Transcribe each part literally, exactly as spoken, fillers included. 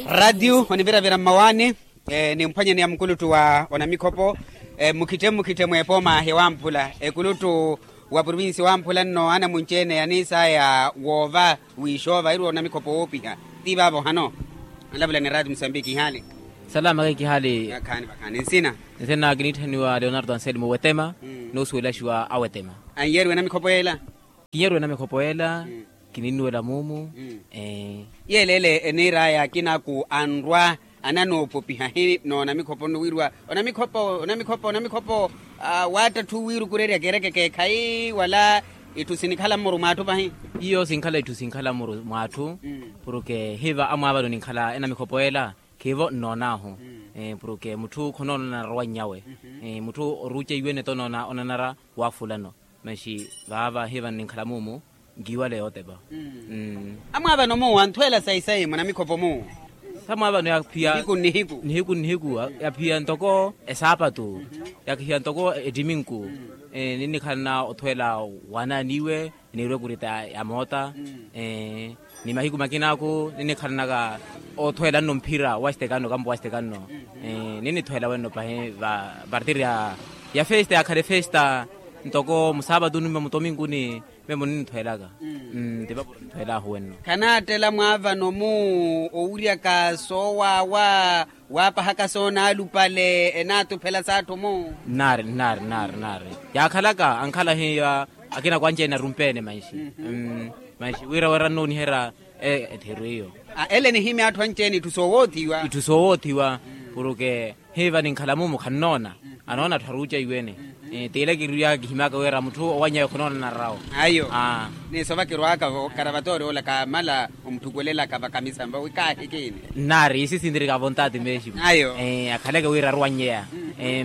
Ratio oniviravira mmawaani. Nimphwanyani ya mukuluttu wa onamikhopo, mmukhitte mmukhitte mweepooma yawamphula ekuluttu wa provinsi wamphula nno anamunci-ene yaniisaya woova wiixoova iriwa onamikhopo woopiha. Ti vaavo hano. Anlavula ni ratio musambiki ihaali. Salama khayi kihaali. Khaani vakhaani nsina. Nsina kiniitthaniwa leonardo anselmo wetema. Noosuwelaxiwa awetema. Anyeeriwe namikhopo yeela. Kinyeeriwe namikhopo yeela. Kininnuwela muumu. Yeeleele eniir'aya akina aku anrwa ananoopopiha hi noona mikhopo nno wiiriwa onamikhopo onamikhopo onamikhopo. Waattatthu wiirukurerya keereke keekhayi wala itthu sinikhala mmuru mw'atthu pahi. Iyo sinkhala itthu sinkhala mmuru mw'atthu. Porke hiiva amwaavano ninkhala enamikhopo yeela khiivo nnoon'ahu. Porke mutthu khonoonana narowannyawe. Mutthu oruuceiwene tonoona onanara waafulano. Manxi vaava hiiva nninkhala muumu nkiiwale yootepa. Amwaavano mu anthweela sayi-sayi munamikhopo mu. Samwaavano yaphiya nihiku nnihiku yaphiya ntoko esaapatu. Yaphiya ntoko ettiminku. Ninnikhalana othweela waanaaniwe niirwe ekurita ya moota. Ni mahiku makinaaku ninnikhalanaka othweela nno mphira wa xitekanno kampo wa xitekanno. Ninnithweela wenno pahi va partir ya festa yakhale festa. Ntoko musaapatuni mma mutominkuni memo ninnithweelaka. Ntipapo ninthweelahu wenno. Khanaattela mwaavano mu owiryaka soowaawa waapahaka soonaalupale enaatuphela s'atthu mu. Nnaari nnaari nnaari nnaari. Yaakhalaka ankhala hiya akina kwanci-ene arumpeene manxi. Manxi wira wira nnooniherya ettheru iyo. Ele nihimya atthu anci-ene itthu soowoothiwa itthu soowoothiwa. Porke hiiva ninkhala mumu khannoona anoona atthu aruucaiwene. Tiile kiriwaka kihimyaka wira mutthu owanyawe khonoona narawo. Ayo. Ni sova kirwaaka-vo karavatoori ola kaamala omutthukwelelaka vakamisambo wi kaahikini. Nnaari isi sintirika vontaati meximu. Ayo. Akhaleke wira aruwannyeya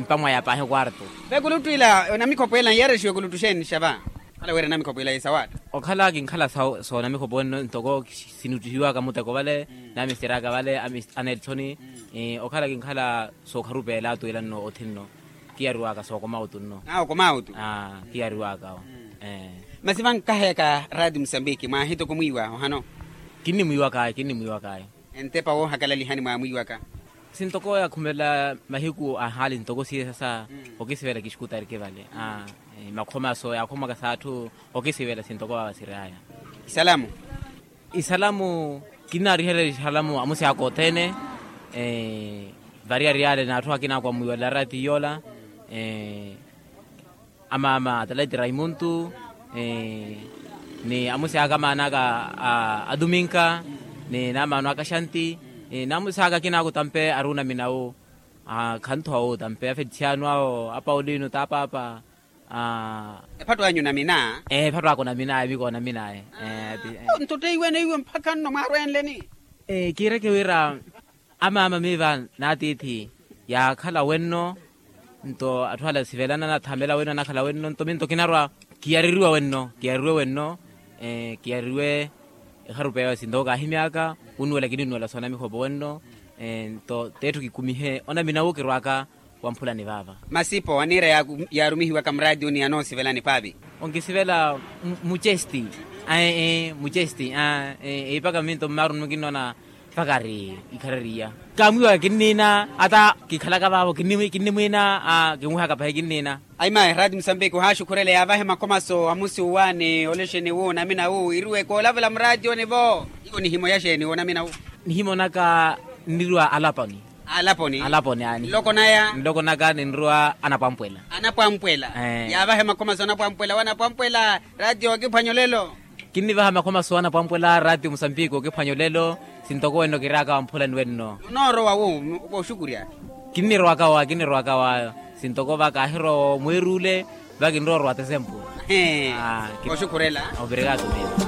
mpamwaya paahi kwarto. Vekuluttwila onamikhopo ela nyarexiwe kuluttwixeni xava. Okhala wira namikhopo ila yisawaatta. Okhala kinkhala soonamikhopo wenno ntoko sinuttihiwaka muteko vale. Namisteraka vale anelthoni. Okhala kinkhala sookharupeela atwiilanno othinno. Kiyariwaka sookoma otunno. Kiyariwaka. Masi vankaheyaka raati musambiki mwaahitoko mwiiwa ohano. Kinnimwiiwakayi kinnimwiiwakayi. Entepa woohakalalihani mwaamwiiwaka. Sintoko yakhumelela mahiku ahaali ntoko siye sasa okisivela kixukutariki vale. Makhomaso yaakhomaka s'atthu okisivela sintoko vava siriyaya. Isalamu. Isalamu kinnaariherya isalamu amusi aka othene. Variyari yale n'atthu akina akwamwiwela rati yoola. Amaama ataleti raimuntu ni amusi aka amaana aka a duminka ni n'amaano aka xanti n'amusi aka akina ako tampe ari onaminawu. Khanthowa otampe afetisiano awo apaulino t'apaapa. Ephatto anyu onamina. Ephatto aka onamina emiiko onaminaye. Nto teiwene iwe mpakha nno mwaarwenleni. Kiireke wira amaama miiva n'atiithi yaakhala wenno. Nto atthu ala sivelana anathamela wenno anakhala wenno nto minto kinarwa kiyaririwa wenno kiyaririwe wenno. Kiyaririwe ekharupeya sinto kaahimyaka wunnuwela kininnuwela soonamikhopo wenno. Nto t'etthu kikumihe onaminawu kirwaka wamphulani vaava. Masipo aniira yaarumihiwaka muraatiyoni anoosivelani paavi. Onkisivela mucesti. Mucesti. Eipaka minto mmaaruni mukinnoona. Mpakari ikharariya kaamwiiwaka kinniina ata kikhalaka vaavo kinnimwiina. Kinwihaka pahi kinniina. Ayi mayi raati musambiki ohaaxukhurele yaavahe makhomaso amusi uwa ni olexeni wu onamina wu iriwe koolavula muraatiyoni-vo. Iwo nihimo yaxeeni wonamina wu? Nihimo naka nniriwa alaponi. Alaponi. Alaponi ani nloko naya nloko naka ninriwa anapwampwela. Anapwampwela. Yaavahe makhomaso anapwampwela wanapwampwela. Raatiyo wakiphwanya olelo. Kinnivaha makhomaso anapwampwela raatiyo musambiki okiphwanya olelo. Sintoko wenno kiraaka wamphulani wenno. Onoorowa wu? Vooxukurya. Kinnirowaka wa kinnirowaka wa sintoko va kaahirowa omweer'ule. Va kinrowa orowata esempu. Vooxukurela. Operekato miyo.